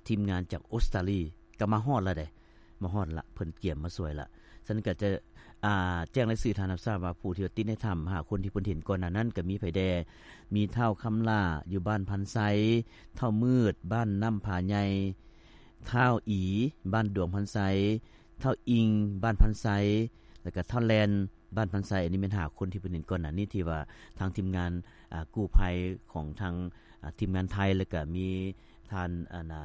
ທີມງານຈາກອົດສະຕາລີ ກໍມາຮອດລະເດ້ ມາຮອດລະ ເພິ່ນກຽມມາຊ່ວຍລະ. ສະນັ້ນກໍຈະ ອ່າ ແຈ້ງລາຍຊື່ທ່ານຮັບຊາບວ່າ ຜູ້ທີ່ວ່າຕິດໃນຖ້ຳ ຫ້າຄົນທີ່ເພິ່ນເຫັນກ່ອນໜ້ານັ້ນ ກໍມີໃຜແດ່? ມີທ້າວຄຳຫຼ້າ ຢູ່ບ້ານພັນໄຊ, ທ້າວມືດ ບ້ານນ້ຳຜາໃຫຍ່, ທ້າວອີ ບ້ານດວງພັນໄຊ, ທ້າວອີງ ບ້ານພັນໄຊ ແລ້ວກໍທ້າວແລນ ບ້ານພັນໄຊ. ອັນນີ້ແມ່ນຫ້າຄົນທີ່ເພິ່ນເຫັນກ່ອນໜ້ານີ້ ທີ່ວ່າທາງທີມງານ ອ່າ ກູ້ໄພຂອງທາງ ອ່າ ທີມງານໄທ ແລ້ວກໍມີທ່ານ ອັນນ່າ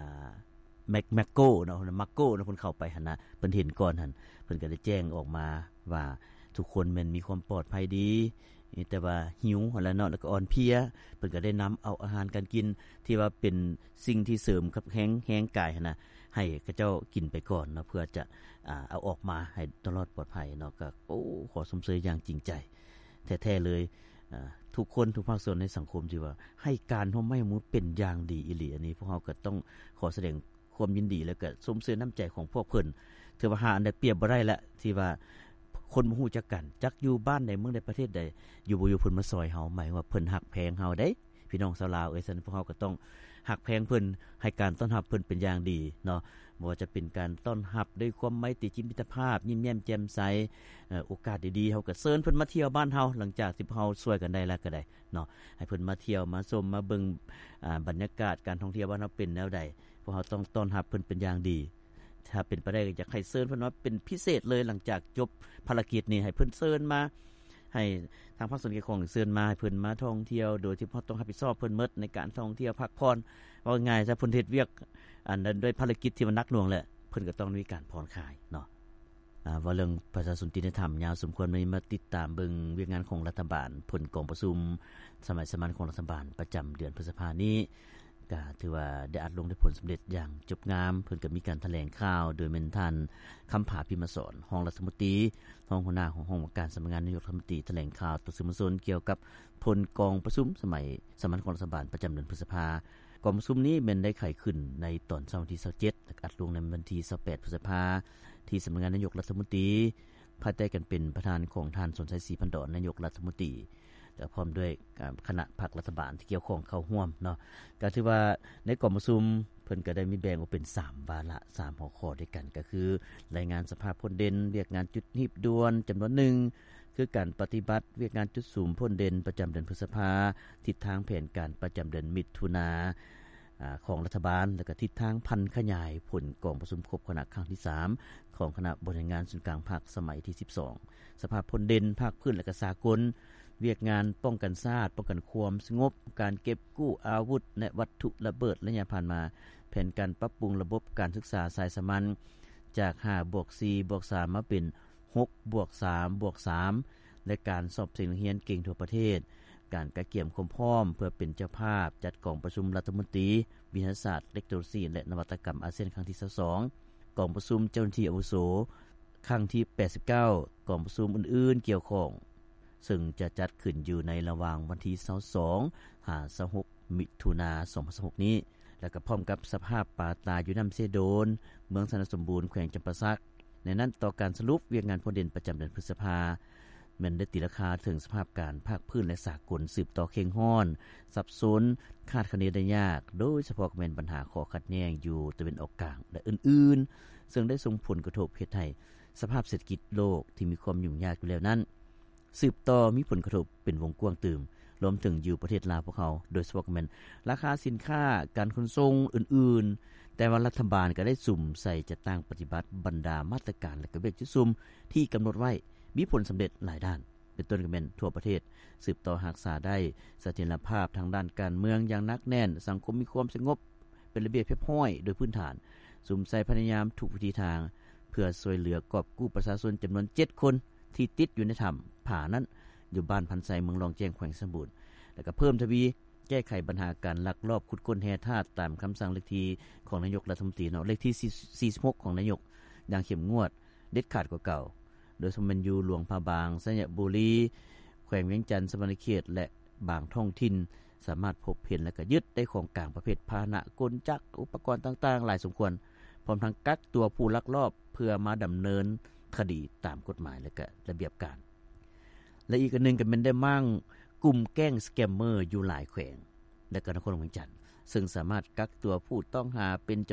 ແມັກ ແມັກໂກເນາະ ມາໂກເນາະ ເພິ່ນເຂົ້າໄປຫັ້ນນະ ເພິ່ນເຫັນກ່ອນຫັ້ນ ເພິ່ນກໍໄດ້ແຈ້ງອອກມາວ່າ ທຸກຄົນແມ່ນມີຄວາມປອດໄພດີ ແຕ່ວ່າຫິວຫັ້ນແຫຼະເນາະ ແລ້ວກໍອ່ອນເພຍ. ເພິ່ນກໍໄດ້ນຳເອົາອາຫານການກິນ ທີ່ວ່າເປັນສິ່ງທີ່ເສີມກັບແຮງ ແຮງກາຍຫັ້ນນະ ໃຫ້ເຂົາເຈົ້າກິນໄປກ່ອນເນາະ ເພື່ອຈະ ອ່າ ເອົາອອກມາໃຫ້ຕະຫຼອດປອດໄພເນາະ. ກໍ ໂອ້ ຂໍຊົມເຊີຍຢ່າງຈິງໃຈແທ້ໆເລີຍ ອ່າ ທຸກຄົນ ທຸກພາກສ່ວນໃນສັງຄົມ ທີ່ວ່າໃຫ້ການຮ່ວມໄມ້ຮ່ວມມືເປັນຢ່າງດີອີ່ຫຼີ. ອັນນີ້ພວກເຮົາກໍຕ້ອງຂໍສະແດງຄວາມຍິນດີ ແລ້ວກໍຊົມເຊີຍນ້ຳໃຈຂອງພວກເພິ່ນ. ຖືວ່າຫາອັນໃດປຽບບໍ່ໄດ້ລະ ທີ່ວ່າຄົນບໍ່ຮູ້ຈັກກັນ ຈັກຢູ່ບ້ານໃດ ເມືອງໃດ ປະເທດໃດ ຢູ່ບໍ່ຢູ່ເພິ່ນມາຊ່ອຍເຮົາ ໝາຍວ່າເພິ່ນຮັກແພງເຮົາເດ້ ພີ່ນ້ອງຊາວລາວເອີຍ. ສະນັ້ນພວກເຮົາກໍຕ້ອງຮັກແພງເພິ່ນ ໃຫ້ການຕ້ອນຮັບເພິ່ນເປັນຢ່າງດີເນາະ. ບໍ່ວ່າຈະເປັນການຕ້ອນຮັບດ້ວຍຄວາມໄມຕີຈິດມິດຕະພາບ ຍິ້ມແຍ້ມແຈ່ມໃສ, ເອີ ໂອກາດດີໆ ເຮົາກໍເຊີນເພິ່ນມາທ່ຽວບ້ານເຮົາ ຫຼັງຈາກທີ່ພວກເຮົາຊ່ວຍກັນໄດ້ແລ້ວກໍໄດ້ເນາະ ໃຫ້ເພິ່ນມາທ່ຽວ ມາຊົມ ມາເບິ່ງ ອ່າ ບັນຍາກາດການທ່ອງທ່ຽວບ້ານເຮົາເປັນແນວໃດ. ພວກເຮົາຕ້ອງຕ້ອນຮັບເພິ່ນເປັນຢ່າງດີ. ຖ້າເປັນໄປໄດ້ ກໍຢາກໃຫ້ເຊີນເພິ່ນມາເປັນພິເສດເລີຍ ຫຼັງຈາກຈົບພາລະກິດນີ້ ໃຫ້ເພິ່ນເຊີນມາ ໃຫ້ທາງພາກສ່ວນກ່ຽວຂ້ອງເຊີນມາ ໃຫ້ເພິ່ນມາທ່ອງທ່ຽວ ໂດຍທີ່ບໍ່ຕ້ອງຮັບຜິດຊອບເພິ່ນໝົດໃນການທ່ອງທ່ຽວພັກຜ່ອນ. ເວົ້າງ່າຍຊະ ເພິ່ນເຮັດວຽກອັນນັ້ນດ້ວຍພາລະກິດທີ່ມັນໜັກໜ່ວງແຫຼະ ເພິ່ນກໍຕ້ອງມີການຜ່ອນຄາຍເນາະ. ອ່າ ເວົ້າເລື່ອງປະຊາຊົນຕິດໃນຖ້ຳຍາວສົມຄວນ ມື້ນີ້ມາຕິດຕາມເບິ່ງວຽກງານຂອງລັດຖະບານ ຜົນກອງປະຊຸມສະໄໝສາມັນຂອງລັດຖະບານປະຈຳເດືອນພຶດສະພານີ້ ກໍຖືວ່າໄດ້ອັດລົງໄດ້ຜົນສຳເລັດຢ່າງຈົບງາມ. ເພິ່ນກໍມີການຖະແຫຼງຂ່າວ ໂດຍແມ່ນທ່ານ ຄຳຜາ ພິມມະສອນ ຮອງລັດຖະມົນຕີ ຮອງຫົວໜ້າຂອງຫ້ອງວ່າການສຳນັກງານນາຍົກລັດຖະມົນຕີ ຖະແຫຼງຂ່າວຕໍ່ສື່ມວນຊົນກ່ຽວກັບຜົນກອງປະຊຸມສະໄໝສາມັນຂອງລັດຖະບານປະຈຳເດືອນພຶດສະພາ. ກອງປະຊຸມນີ້ແມ່ນໄດ້ໄຂຂຶ້ນໃນຕອນເຊົ້າວັນທີຊາວເຈັດ ແລະ ອັດລົງໃນວັນທີຊາວແປດ ພຶດສະພາ ທີ່ສຳນັກງານນາຍົກລັດຖະມົນຕີ ພາຍໃຕ້ການເປັນປະທານຂອງທ່ານ ສອນໄຊ ສີພັນດອນ ນາຍົກລັດຖະມົນຕີ ແລະ ພ້ອມດ້ວຍ ອ່າ ຄະນະພັກລັດຖະບານທີ່ກ່ຽວຂ້ອງເຂົ້າຮ່ວມເນາະ. ກໍຖືວ່າໃນກອງປະຊຸມ ເພິ່ນກໍໄດ້ມີແບ່ງອອກເປັນສາມວາລະ ສາມຫົວຂໍ້ດ້ວຍກັນ ກໍຄື ລາຍງານສະພາບພົ້ນເດັ່ນ ວຽກງານຈຸດຮີບດ່ວນຈຳນວນໜຶ່ງ ຄືການປະຕິບັດວຽກງານຈຸດສຸມພົ້ນເດັ່ນປະຈຳເດືອນພຶດສະພາ, ທິດທາງແຜນການປະຈຳເດືອນມິຖຸນາ ອາ ຂອງລັດຖະບານ ແລະ ກະທິດທາງຜັນຂະຫຍາຍຜົນກອງປະຊຸມຄົບຄະນະຄັ້ງທີສາມ ຂອງຄະນະບໍລິຫານງານສູນກາງພັກສະໄໝທີສິບສອງ, ສະພາບພົ້ນເດັ່ນພາກພື້ນ ແລະ ກະສາກົນ, ວຽກງານປ້ອງກັນຊາດ, ປ້ອງກັນຄວາມສະຫງົບ, ການເກັບກູ້ອາວຸດ ແລະ ວັດຖຸລະເບີດໄລຍະຜ່ານມາ, ແຜນການປັບປຸງລະບົບການສຶກສາສາຍສາມັນ ຈາກຫ້າບວກສີ່ບວກສາມ ມາເປັນ ຫົກບວກສາມບວກສາມ ແລະ ການສອບເສັງນັກຮຽນເກັ່ງທົ່ວປະເທດ, ການກະກຽມຄວາມພ້ອມເພື່ອເປັນເຈົ້າພາບຈັດກອງປະຊຸມລັດຖະມົນຕີວິທະຍາສາດ, ເຕັກໂນໂລຊີ ແລະ ນະວັດຕະກຳອາຊຽນຄັ້ງທີຊາວສອງ, ກອງປະຊຸມເຈົ້າໜ້າທີ່ອາວຸໂສຄັ້ງທີແປດສິບເກົ້າ, ກອງປະຊຸມອື່ນໆກ່ຽວຂ້ອງ ເຊິ່ງຈະຈັດຂຶ້ນຢູ່ໃນລະຫວ່າງວັນທີຊາວສອງ ຫາ ຊາວຫົກ ມິຖຸນາ ສອງພັນຊາວຫົກນີ້ ແລະ ກໍພ້ອມກັບສະພາບປາຕາຍຢູ່ນ້ຳເຊໂດນ ເມືອງຊະນະສົມບູນ ແຂວງຈຳປາສັກ. ໃນນັ້ນ ຕໍ່ການສະຫຼຸບວຽກງານພົ້ນເດັ່ນປະຈຳເດືອນພຶດສະພາ ແມ່ນໄດ້ຕີລາຄາເຖິງສະພາບການພາກພື້ນ ແລະ ສາກົນ ສືບຕໍ່ເຄັ່ງຮ້ອນ, ສັບສົນ, ຄາດຄະເນໄດ້ຍາກ, ໂດຍສະເພາະກໍແມ່ນບັນຫາຂໍ້ຂັດແຍ່ງຢູ່ຕາເວັນອອກກາງ ແລະ ອື່ນໆ, ເຊິ່ງໄດ້ສົ່ງຜົນກະທົບເຮັດໃຫ້ສະພາບເສດຖະກິດໂລກທີ່ມີຄວາມຫຍຸ້ງຍາກຢູ່ແລ້ວນັ້ນ ສືບຕໍ່ມີຜົນກະທົບເປັນວົງກວ້າງຕື່ມ, ລວມເຖິງຢູ່ປະເທດລາວພວກເຮົາ, ໂດຍສະເພາະກໍແມ່ນລາຄາສິນຄ້າ, ການຂົນສົ່ງອື່ນໆ, ແຕ່ວ່າລັດຖະບານກໍໄດ້ສຸມໃສ່ຈັດຕັ້ງປະຕິບັດບັນດາມາດຕະການ ແລະ ກະວຽກຈຸດສຸມທີ່ກຳນົດໄວ້ ມີຜົນສຳເລັດຫຼາຍດ້ານ, ເປັນຕົ້ນກໍແມ່ນທົ່ວປະເທດ ສືບຕໍ່ຮັກສາໄດ້ສະຖຽນລະພາບທາງດ້ານການເມືອງຢ່າງໜັກແໜ້ນ, ສັງຄົມມີຄວາມສະຫງົບ ເປັນລະບຽບຮຽບຮ້ອຍໂດຍພື້ນຖານ, ສຸມໃສ່ພະຍາຍາມທຸກວິທີທາງ ເພື່ອຊ່ວຍເຫຼືອກອບກູ້ປະຊາຊົນຈຳນວນເຈັດຄົນ ທີ່ຕິດຢູ່ໃນຖ້ຳຜານັ້ນ ຢູ່ບ້ານພັນໄຊ ເມືອງລ້ອງແຈ້ງ ແຂວງໄຊສົມບູນ ແລະ ກໍເພີ່ມທະວີແກ້ໄຂບັນຫາການລັກລອບຂຸດຄົ້ນແຮ່ທາດ ຕາມຄຳສັ່ງເລກທີຂອງນາຍົກລັດຖະມົນຕີເນາະ ເລກທີສີ່ສິບຫົກຂອງນາຍົກ ຢ່າງເຂັ້ມງວດ ເດັດຂາດກວ່າເກົ່າ, ໂດຍສະເພາະແມ່ນຢູ່ຫຼວງພະບາງ, ໄຊຍະບູລີ, ແຂວງວຽງຈັນ, ສະຫວັນນະເຂດ ແລະ ບາງທ້ອງຖິ່ນ ສາມາດພົບເຫັນ ແລະ ກະຍຶດໄດ້ຂອງກາງປະເພດພາຫະນະ, ກົນຈັກ, ອຸປະກອນຕ່າງໆຫຼາຍສົມຄວນ, ພ້ອມທັງກັກຕົວຜູ້ລັກລອບເພື່ອມາດຳເນີນຄະດີຕາມກົດໝາຍ ແລະ ກະລະບຽບການ. ແລະ ອີກອັນໜຶ່ງກໍແມ່ນໄດ້ມ້າງກຸ່ມແກ້ງສະແກມເມີຢູ່ຫຼາຍແຂວງ ແລະ ກໍນະຄອນຫຼວງວຽງຈັນ ເຊິ່ງສາມາດກັກຕົວຜູ້ຕ້ອງຫາເປັນຈຳ